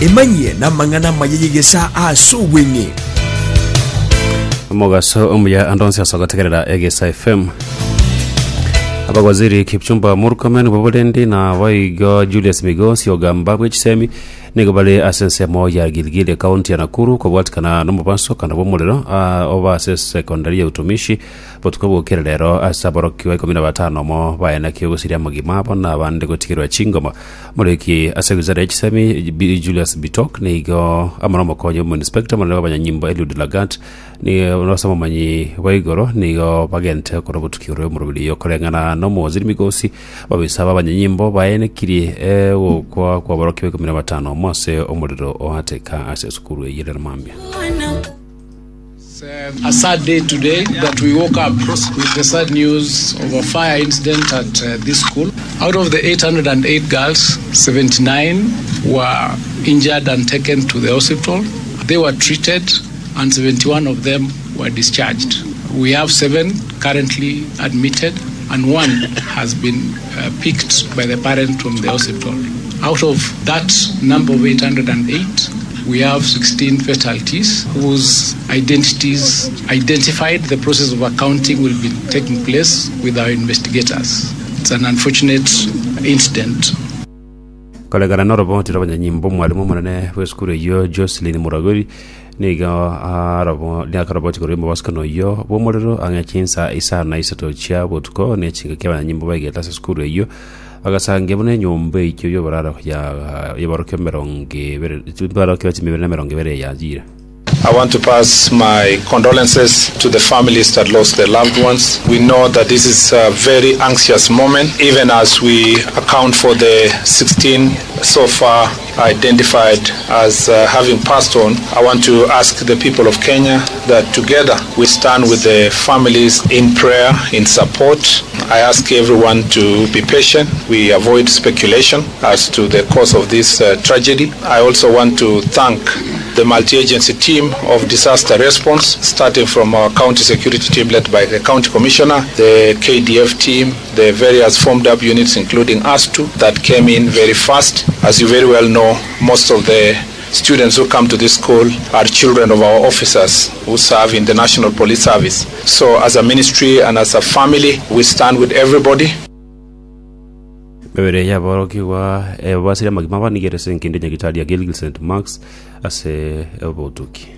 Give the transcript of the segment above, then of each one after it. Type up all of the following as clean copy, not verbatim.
Emanyie namang'ana amaya y'egesaa ase obweng'e. Omogaso omuya ande onsi ase ogotegerera Egesa FM. Abawaziri Kipchumba Murkomen bw'oborendi na boigo Julius Migosi ogamba bw'echisemi nigo bare ase ensemo ya Gilgil ekaunti ya Nakuru kobwatikana n'omobasokano bw'omorero ah, oba ase sekondari ya Utumishi botuko bwokire rero ase aborokigwa ikomi na batano omo baenekia ogosiria amagima abo na abande gotigerwa chingoma Omoriki ase wizara ye chisemi Bi Julius Bitok nigo amo nomokonyi omoinspector omonene bw'abanyanyimbo Eliud Lagat nigo ase omomanyi bwa igoro nigo bagente okora obotuki igoro y'omoroberi oyo koreng'ana n'omowaziri Migosi ababisa b'abanyanyimbo baenekirie ogokwa kw'aborokigwa ikomi na batano omo ase omorero oateka ase esukuru eyio rero mambia. It's a sad day today that we woke up with the sad news of a fire incident at uh, this school. Out of the 808 girls, 79 were injured and taken to the hospital. They were treated and 71 of them were discharged. We have seven currently admitted and one has been uh, picked by the parent from the hospital. Out of that number of 808, we have 16 fatalities whose identities identified. The process of accounting will be taking place with our investigators. It's an unfortunate incident. Koregana noroboti rw'abanyanyimbo omwalimu omonene bw'esukuru eyio Jocelyn Muraguri nigo arobo niakaroboti korwa omobasukano oyio bw'omorero ang'e chinsa isano na isato chia botuko ne chingaki abanyanyimbo baigete ase esukuru eyio Bagasangia buna enyomba eyio y'oboraro y'aborokigwa emerongo ebere, aborokigwa chimia ibere na emerongo ebere yachiire. I want to pass my condolences to the families that lost their loved ones. We know that this is a very anxious moment, even as we account for the 16 so far identified as uh, having passed on. I want to ask the people of Kenya that together we stand with the families in prayer, in support. I ask everyone to be patient. We avoid speculation as to the cause of this uh, tragedy. I also want to thank the multi-agency team of disaster response, starting from our county security team led by the county commissioner, the KDF team, the various formed up units, including ASTU, that came in very fast. As you very well know, most of the students who come to this school are children of our officers who serve in the National Police Service. So as a ministry and as a family, we stand with everybody. Mebere y'aborokigwa ebabasire amagima abanigere ase engencho ya Nyagitari ya Gilgil St. Mark's ase obotuki.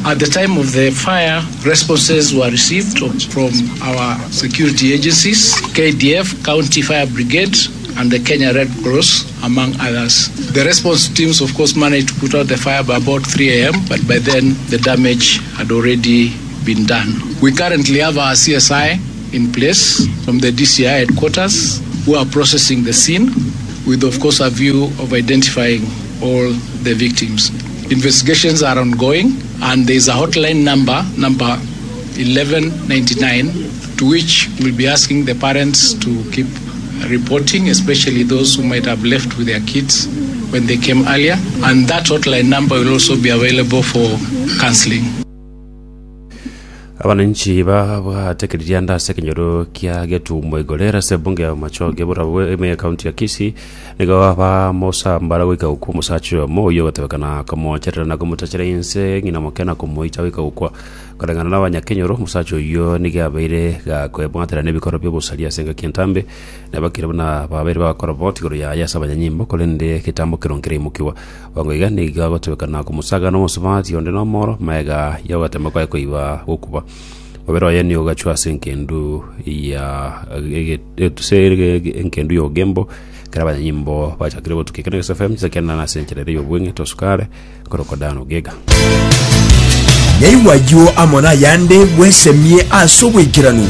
At the time of the fire, responses were received from our security agencies, KDF, County Fire Brigade, and the Kenya Red Cross, among others. The response teams, of course, managed to put out the fire by about 3 a.m., but by then the damage had already been done. We currently have our CSI in place from the DCI headquarters who are processing the scene with, of course, a view of identifying all the victims. Investigations are ongoing, and there is a hotline number, number 1199, to which we'll be asking the parents to keep reporting, especially those who might have left with their kids when they came earlier. And that hotline number will also be available for counseling. Abananchi babwatekeririe ande ase ekenyoro kia Getumo Igorera ase ebunge ya Bomachoge Borabu ime ekaunti ya Kisii nigo bamosambara goika gokwa omosacha oyomo oyio ogotebekana komocherera na komotachera inse ng'ina moke na komoita goika gokwa. Koreng'ana na abanyakenyoro omosacha oyio nigo abeire gakoebwatera nebikoro biobosaria ase engaki entambe nabakire buna babeire bagakora boti igoro yaye ase abanyanyimbo korende egetambo keronge keraimokigwa. Bwango iga nigo agotebekana komosaga nomosubati onde nomoro, magega y'ogoteema kwaye koiba gokuba. Omobere oye nigo ogachwa ase engendu ya ase engendu y'ogembo, ekero abanyanyimbo bachakire gotukia ekero na FM chisakende ase enchera ere y'obweng'e tosukare korokwa Dan Ogega. Naigwe ayio amo nayande bwesemie ase oboikeranu.